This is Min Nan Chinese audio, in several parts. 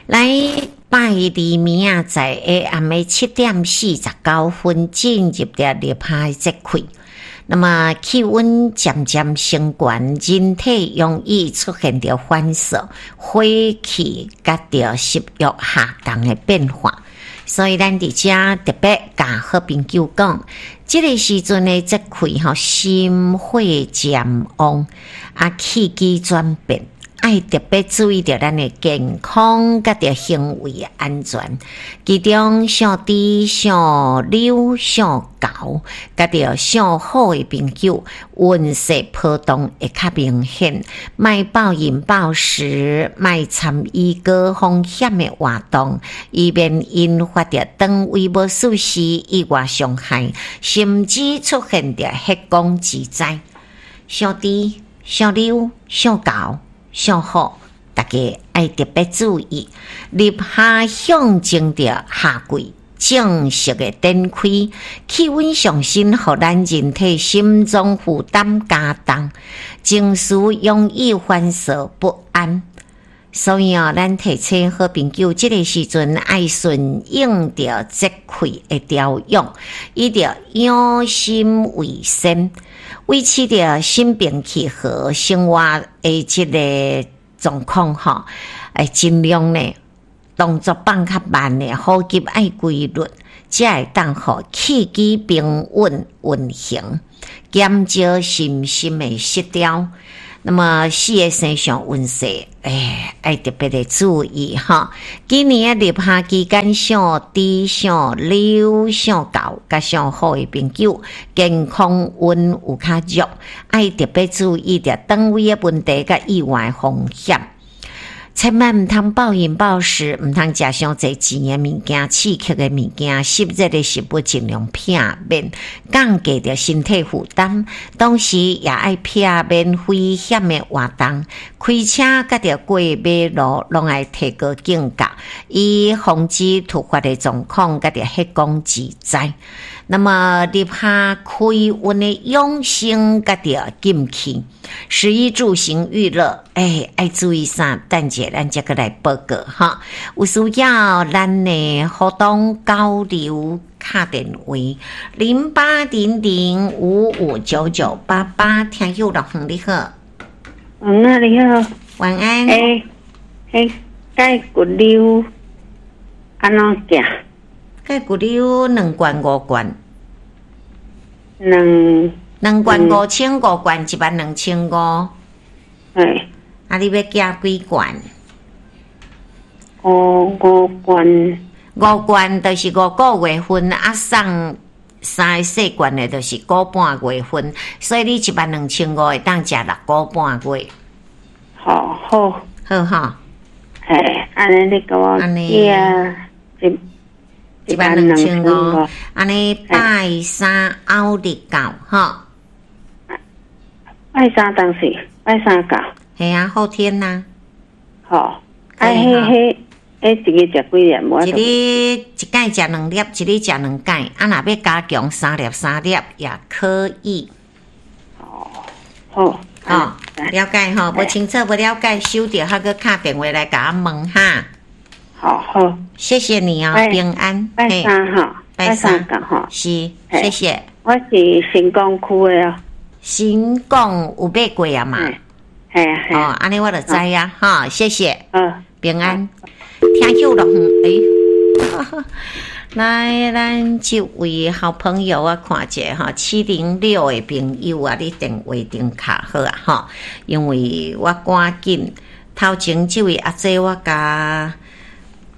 來拜二暝仔，在下暗暝7點49分進入著立夏的節氣。那麼氣溫漸漸升懸，人體容易出現著反射、火氣佮著食欲下降的變化。所以咱佇遮特別共好朋友講，這個時陣的節氣吼，心火漸旺，啊氣機轉變。愛特別注意著咱的健康佮著行為安全，其中屬豬、屬牛、屬猴佮著屬虎的朋友，運勢波動會較明顯。莫暴飲暴食，莫參與高風險的活動，以免引發著腸胃無舒適、意外傷害，甚至出現著血光之災。屬豬、屬牛、屬猴、屬虎，大家愛特別注意。立夏象徵著夏季正式的展開，氣溫上升，予咱人體心臟負擔加重，情緒容易煩躁不安。所以哦，咱提醒好朋友，這個時陣愛順應著節氣的調養，以著養心為先，維持著心平氣和生活的這個狀況吼，會盡量呢動作放較慢的，呼吸愛規律，才會當予氣機平穩運行，減少身心的失調。那麼四個生肖運勢，欸，愛特別的注意哈。今年的立夏期間，屬豬、屬牛、屬猴、佮屬虎的朋友，健康運有較弱，愛特別注意著腸胃的問題佮意外風險。千萬毋通暴飲暴食，毋通食傷濟甜的物件、刺激的物件、濕熱的食物，盡量避免，降低著身體負擔。同時也愛避免危險的活動，開車佮著過馬路，攏愛提高警覺，以防止突發的狀況佮著血光之災。那麼立夏開運的養生佮著禁忌，食衣住行娛樂，欸，愛注意啥？等者咱才閣來報告哈。有需要咱的活動交流敲電話0800559988，聽友樂園你好。嗯，你好。晚安。欸，欸，蓋骨溜按怎寄？蓋骨溜兩罐五罐。兩兩罐5500，罐12500。欸。啊，你欲寄幾罐？五罐。五罐就是5個月份，啊送三個細罐的，就是個半月份，所以你12500會當食6個半月。好，好。好吼。嘿，按呢你共我寄啊，12500，按呢拜三後日到吼。拜三當時，拜三到。係啊，後天吶。好，啊，彼彼彼一日食幾粒？一日一擺食兩粒，一日食兩擺。啊，若欲加強三粒三粒也可以。哦，好。哦，了解吼，無清楚無了解，收著還閣敲電話來共我問哈。好好，謝謝你哦，平安。拜三哈，拜三哈，是，謝謝。我是新港區的哦。新港有買過啊嘛？係啊係。哦，按呢我就知啊，哈，謝謝。嗯，平安。聽友樂園，欸，來，咱這位好朋友我看一下哈，706的朋友啊，你電話頂卡好啊哈，因為我趕緊頭前這位阿姐我共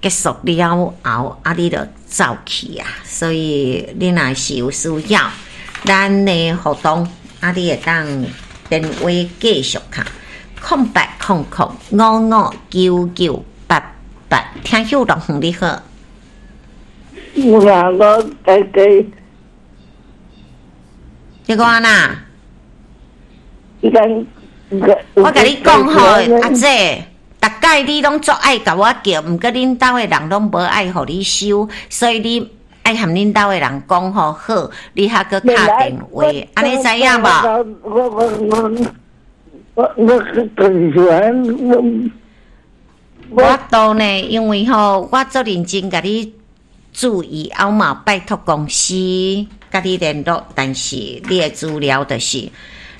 結束了後，啊，你就走去啊，所以你若是有需要，咱的活動啊，你會當電話繼續敲0800559988，聽友樂園你好。我我家己。你講哪？咱我共你講吼，阿姐，逐擺你攏足愛共我叫，毋過恁兜的人攏無愛予你收，所以你愛和恁兜的人講吼好，你還閣敲電話，按呢知影無？我我我我我更喜歡我。無度呢，因為吼，我足認真共你注意，後嘛拜託公司佮你聯絡，但是你的資料就是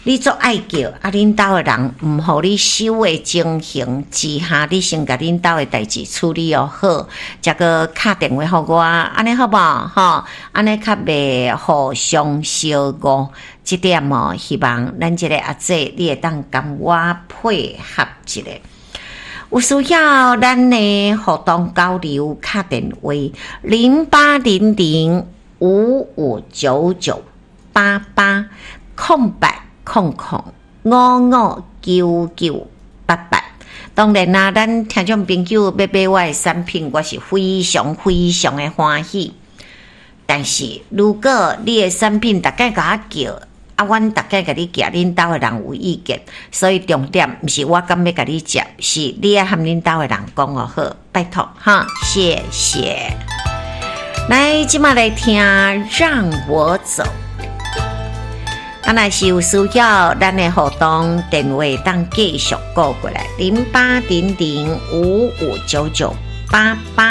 你足愛叫，啊，恁兜的人毋予你收的情形之下，你先共恁兜的代誌處理予好，才閣敲電話予我，按呢好無？吼，按呢較袂互相相誤。這點哦，希望咱這个阿姐你會當共我配合一下。有需要咱的互動交流，敲電話0800559988，0800559988。當然啦，咱聽眾朋友欲買我的產品，我是非常非常的歡喜。但是如果你的產品逐擺共我叫，啊，阮逐擺共你寄，恁兜的人有意見，所以重點毋是我敢欲共你接，是你愛和恁兜的人講哦好，拜託哈，謝謝。來，這馬來聽《讓我走》。啊，若是有需要，咱的互動電話當繼續撥過來，0800559988。